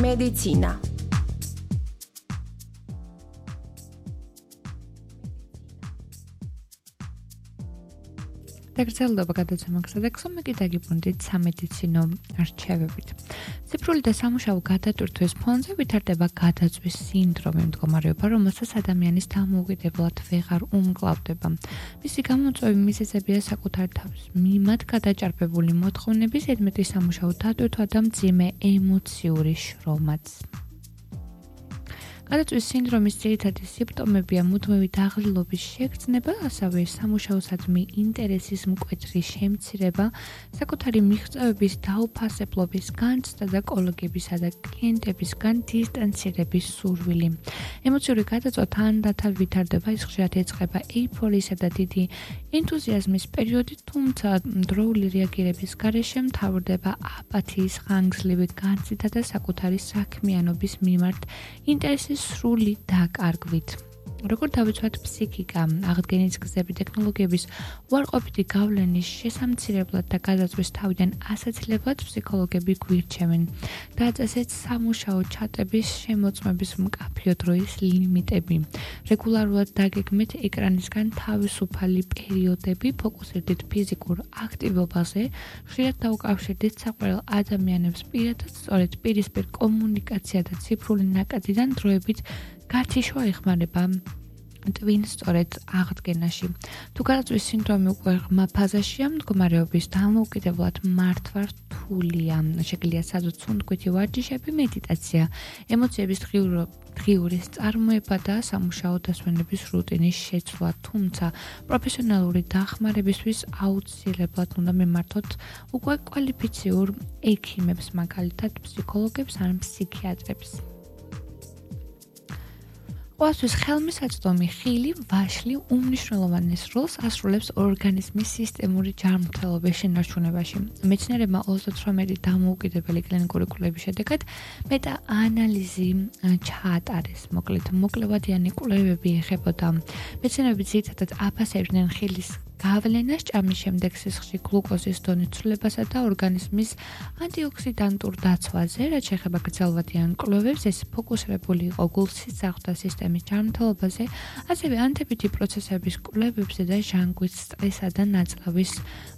მედიცინა. დაგრძელდება გადაცემა და ხსომეკი დაგიბრუნდით სამედიცინო არჩევებით. ციფრული და სამუშაო გადატვირთვის ფონზე ვითარდება გადაწვის სინდრომი, მდგომარეობა, რომელსაც ადამიანის დამოუკიდებლად ვეღარ უმკლავდება. მისი გამოწვევის მიზეზებია საკუთარი თავის მიმართ გადაჭარბებული მოთხოვნების ზედმეტი სამუშაო დატვირთვა და მძიმე ემოციური შრომაც. გადაწვის სინდრომის ძირითადი სიმპტომებია მუდმივი დაღლილობის შეგრძნება, ასევე სამუშაოსადმი ინტერესის მკვეთრი შემცირება, საკუთარი მიღწევების დაუფასებლობის განცდა და კოლეგებისა და კლიენტებისგან დისტანცირების სურვილი. ემოციური გადაწვა თანდათან ვითარდება, ის ხშირად ეწყება ეიფორიისა და დიდი ენთუზიაზმის პერიოდი, თუმცა დროული რეაგირების გარეშე მთავრდება აპათიის, ხანგრძლივი განცდა და საკუთარი საქმიანობის მიმართ ინტერესის სრული დაკარგვით. როგორ დავიცვათ ფსიქიკა, აღდგენის გზები, ტექნოლოგიების უარყოფითი გავლენის შესამცირებლად და გადაწვის თავიდან ასაცილებლად ფსიქოლოგები გვირჩევენ. დააწესეთ სამუშაო ჩატების შემოწმების მკაფიო დროის ლიმიტები. რეგულარულად დაგეგმეთ ეკრანისგან თავისუფალი პერიოდები, ფოკუსირდით ფიზიკურ აქტივობაზე, ხშირად დაუკავშირდით საყვარელ ადამიანებს პირადად, სწორედ პირისპირ კომუნიკაცია და ციფრული ნაკადიდან დროებით გათიშვა ეხმარება ტვინ სწორედ აღდგენაში. თუ გადაწვის სინდრომი უკვე ღრმა ფაზაშია, მდგომარეობის დამოუკიდებლად მართვა რთულია. შეგიძლია საზუსტ სუნთქვითი ვარჯიშები, მედიტაცია, ემოციების დღიურის წარმოება და სამუშაო დასვენების რუტინის შეცვლა, თუმცა პროფესიონალური დახმარებისთვის აუცილებლად უნდა მიმართოთ უკვე კვალიფიციურ ექიმებს, მაგალითად ფსიქოლოგებს ან ფსიქიატრებს. ყოველთვის ხელმისაწვდომი ხილი, ვაშლი უმნიშვნელოვანეს როლს ასრულებს ორგანიზმის სისტემური ჯანმრთელობის შენარჩუნებაში. მეცნიერებმა 38 დამოუკიდებელი კლინიკური კვლევის შედეგად მეტა-ანალიზი ჩაატარეს. მოკლევადიანი კვლევები ეხებოდა მეცნიერები ძირითადად აფასებდნენ ხილის გავლენას ჭამის შემდეგ სისხლში გლუკოზის დონის ცვლილებასა და ორგანიზმის ანტიოქსიდანტურ დაცვაზე, რაც შეეხება გრძელვადიან კვლევებს, ეს ფოკუსირებული იყო გულ-სისხლძარღვთა სისტემის ჯანმრთელობაზე, ასევე ანთებითი პროცესების კვლევებზე და ჟანგვის, სტრესა და ნაწლავის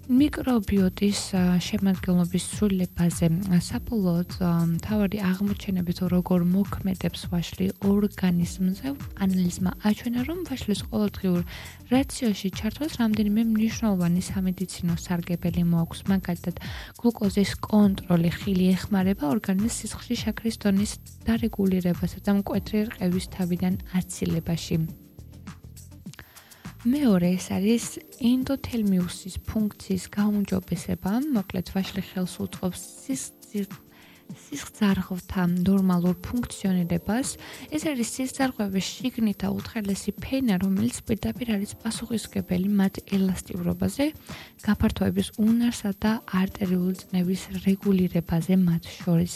მიკრობიოტის შემადგენლობის ცვლილებაზე. საბოლოოდ მთავარი აღმოჩენებით, როგორ მოქმედებს ვაშლი ორგანიზმზე, ანალიზმა აჩვენა, რომ ვაშლის ყოველდღიურ რაციონში ჩართვას რამდენიმე მნიშვნელოვანი სამედიცინო სარგებელი მოაქვს. მაგალითად, გლუკოზის კონტროლი ხილი ეხმარება ორგანიზმის სისხლში შაქრის დონის დარეგულირებასა და მკვეთრი რყევის თავიდან აცილებაში. მეორე ეს არის ენდოთელმიუსის ფუნქციის გაუმჯობესება, მოკლედ ვაშლი ხელს უწყობს სისხლძარღვთა ნორმალურ ფუნქციონირებას. ეს არის სისხლძარღვების შიგნით და უთხელესი ფენა, რომელიც პირდაპირ არის პასუხისმგებელი მათ ელასტიურობაზე, გაფართოების უნარსა და არტერიული წნევის რეგულირებაზე მათ შორის.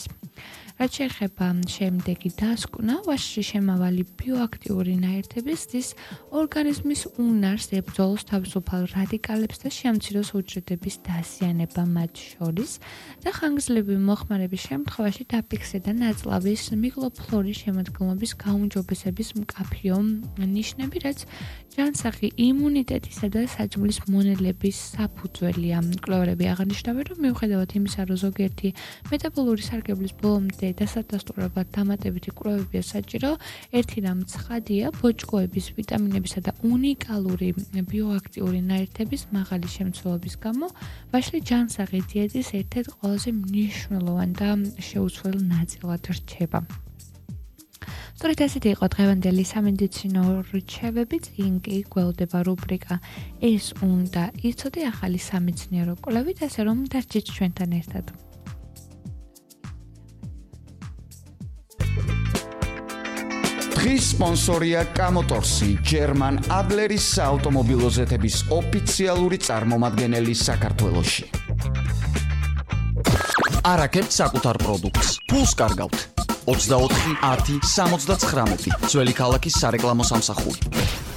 რაც შეეხება შემდეგი დასკვნა, ვაშლში შემავალი ბიოაქტიური ნაერთები ზრდის ორგანიზმის უნარს ებრძოლოს თავისუფალ რადიკალებს და შეამციროს უჯრედების დაზიანება მათ შორის და ხანგრძლივი მოხმარების შემთხვევაში დაფიქსე და ნაწლავის მიკროფლორის შემადგენლობის გაუმჯობესების მკაფიო ნიშნები, რაც ჯანსაღი იმუნიტეტისა და საჭმლის მონელების საფუძველია. მკვლევარები აღნიშნავენ, რომ მიუხედავად იმისა, რომ ზოგიერთი მეტაბოლური სარგებლის ბოლომდე დასადასტურებლად დამატებითი კვლევებია საჭირო, ერთი რამ ცხადია, ბოჭკოების, ვიტამინებისა და უნიკალური ბიოაქტიური ნაერთების მაღალი შემცველობის გამო ვაშლი ჯანსაღი დიეტის ერთ-ერთ ყველაზე მნიშვნელოვანი და შეუცვლელ ნაწილად რჩება. სწორედ ასეთი იყო დღევანდელი სამედიცინო რჩევები, წინ კი გველდება რუბრიკა ეს უნდა იცოდე ახალი სამეცნიერო კვლევით, ასე რომ დარჩით ჩვენთან ერთად. დღის სპონსორია კამოტორსი, ჯერმან ადლერის საავტომობილო ზეთების ოფიციალური წარმომადგენელი საქართველოში. არაკეთებთ საკუთარ პროდუქტს. ფულს კარგავთ. 24 10 79 ძველი ქალაქის სარეკლამო სამსახური.